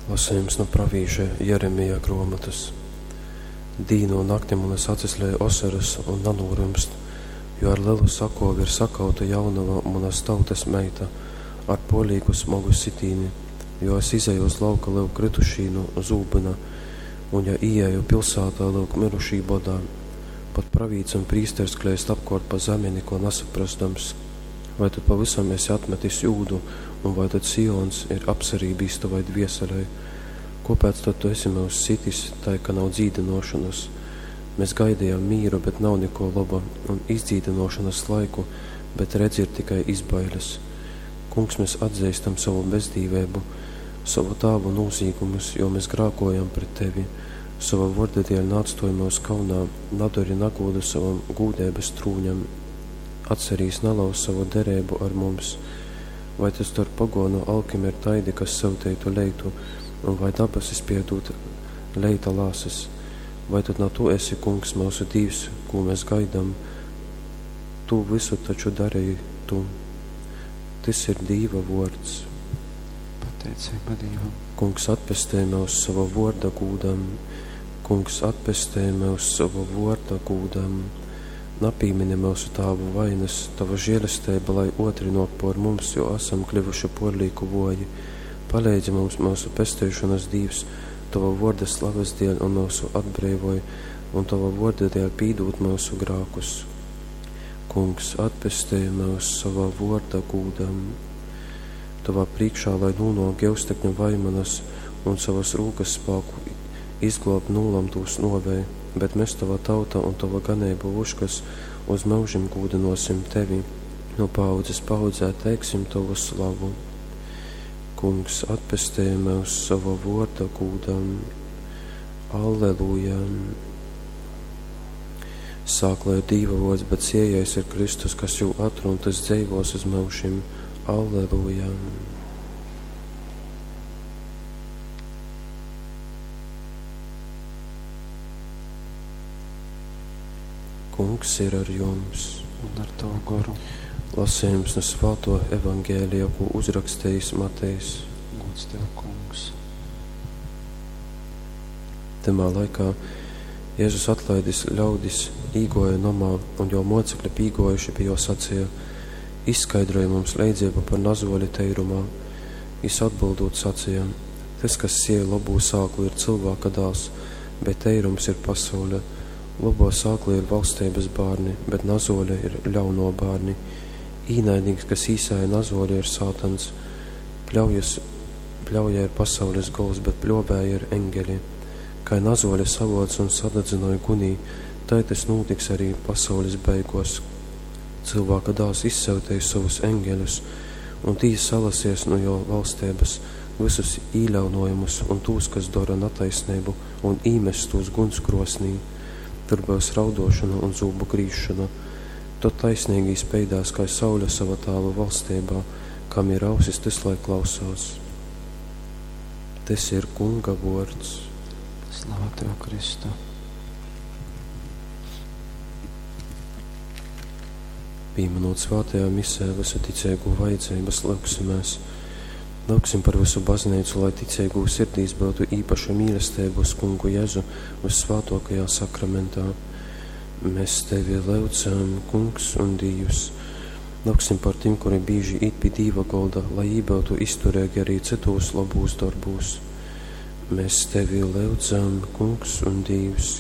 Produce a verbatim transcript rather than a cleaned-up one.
Lasejums nu pravīša Jeremija gruomotys. Dīnu un nakti munys acis lej osorys un nanūrymst, jo ar lelu sakuovi ir sakauta jaunova, munys tautys meita, ar puorlīku smogu sitīni, jo es izeju uz lauka, lyuk, krytušī nu zūbyna, un ja īeju pilsātā, lyuk, myrušī bodā. Pat pravīts un prīsters kleist apkuort pa zemi, nikuo nasaprozdams. Vai tu pavysam esi atmetis Jūdu, un vai tad Sions ir apsarībīs tovai dvieselei? Kuopēc tad tu esi myus sitis, tai ka nav dzīdynuošonys? Mes gaidejam mīru, bet nav nikuo loba, un izdzīdynuošonys laiku, bet redzi, ir tikai izbailis. Kungs, mes atzeistam sovu bezdīveibu, sovu tāvu nūzīgumus, jo mes grākojam pret tevi. Sova vuorda dieļ naatstuoj myus kaunā, nadori nagūdu sovam gūdeibys trūņam. Atcerīs, nalauz sovu dereibu ar mums. Vai tad storp poguonu alkim ir taidi, kas syuteitu leitu, un vai dabasi spiej dūt leita lāses? Vai tad na tu esi, Kungs, myusu Dīvs, kū mēs gaidam? Tū vysu taču dareji tu. Tys ir Dīva vuords. Pateiceiba Dīvam. Kungs, atpestej myus sova vuorda gūdam. Kungs, atpestej myus sova vuorda gūdam. Napīmini myusu tāvu vainas, tova žielesteiba, lai otri nuok por mums, jo asam kļuvuši puorlīku vuoji. Paleidzi mums, myusu pesteišonas Dīvs, tova vuorda slavas dieļ un myusu atbreivoj, un tova vuorda dieļ pīdūd myusu grākus. Kungs, atpestej myus sova vuorda gūdam. Tovā prīkšā, lai nūnuok gyustekņu vaimanas un sovas rūkas spāku izgluob nūlamtūs nuovei, bet mes, tova tauta un tova ganeibu vuškas, uz myužim gūdynuosim tevi, nu paaudzes paaudzē teiksim tovu slavu. Kungs, atpestej myus sova vuorda gūdam. Alleluja! Sākla ir Dīva vuords, bet siejais ir Kristus, kas jū atrun, tys dzeivos uz myužim. Alleluja! Kungs ir ar jums. Un ar tavu goru. Lasījums no Svāto evaņģēlija, ko uzrakstījis Matejs. Gods tev, Kungs. Tymā laikā Jēzus atlaidis ļaudis, īgoja nomā, un jo mocekļi pīgojuši pie jo sacīja: Izskaidroja mums leidzību par nazoli teirumā. Jis atbildot sacīja: Tas, kas sieja labū sāklu, ir cilvēka dāls, bet teirums ir pasaule. Labo sāklu ir valstības bārni, bet nazole ir ļauno bārni. Īnaidnīks, kas īsēja nazoli, ir sātans. Pļaujas, pļauja ir pasaules gols, bet pļovēji ir eņgeļi. Kai nazole savoc un sadadzynoj gunī, tai tas nūtiks arī pasaules beigos. Cilvēka dāls izsyuteis sovus eņgeļus, un tī salasies no jo valstības visus īļaunojumus un tūs, kas dora nataisnību, un īmest tūs guns krosnī. Tur būs raudošana un zūbu grīzšana. Tad taisnīgī speidās kā saule sava tāva valstībā, kam ir ausis, tas lai klausās. Tas ir Kunga vords. Slava tev, Kristu. Pīminot svētajā misē visu ticīgo vajadzības, lūgsimies. Lūgsim par visu baznīcu, lai ticīgo sirdīs būtu īpaša mīlestība uz Kungu Jēzu vissvētākajā sakramentā. Mēs tevi lūdzam, Kungs un Dievs. Lūgsim par tiem, kuri bieži īt pie Dīva golda, lai ībūtu izturīgi arī citos labūs darbūs. Mēs tevi lūdzam, Kungs un Dievs.